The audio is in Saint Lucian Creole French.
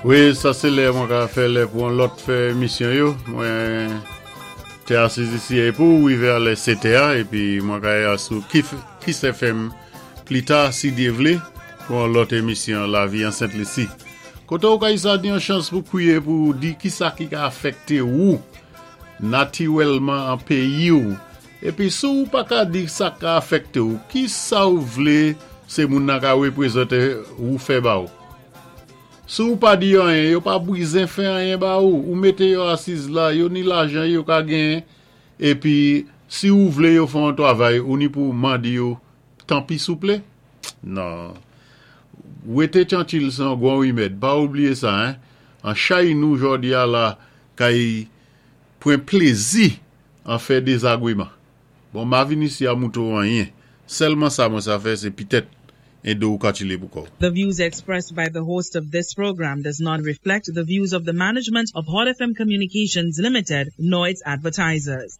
Wi, sa sé lè mwen ka fè lè pou an lòt fè émisyon yo. Mwen té asiz isi é pou wivé a lè 7 è épi mwen ka ya sou Kiss FM pli ta si Dyé vlé pou an lòt émisyon Lavi an Sent Lisi. Koté ou ka sa ni an chans pou kwiyé pou di ki sa ki ka afèkté ou natiwèlman an péyi ou. Épi si ou pa ka di sa ka afèkté ou, ki sa ou vlé sé moun nan ka wépwézanté ou fè ba ou? Si ou pa di anyen, yo pa bwizen fè anyen ba ou. Ou mété yo asiz la, yo ni lajan yo ka genyen, épi si ou vlé yo fè an twavay, ou ni pou mandi yo, tanpi souplé? Non. Wété tyantil sé an gwan wimèd, pa oubliyé sa, hein. An chay nou jòdi a la kay pwan plézi an fè dézagwéman. Bon, ma vin isi a mouto anyen. Sèlman sa mwen sa fè, sé pitèt édé ou katilé pou kò. The views expressed by the host of this program does not reflect the views of the management of Hot FM Communications Limited nor its advertisers.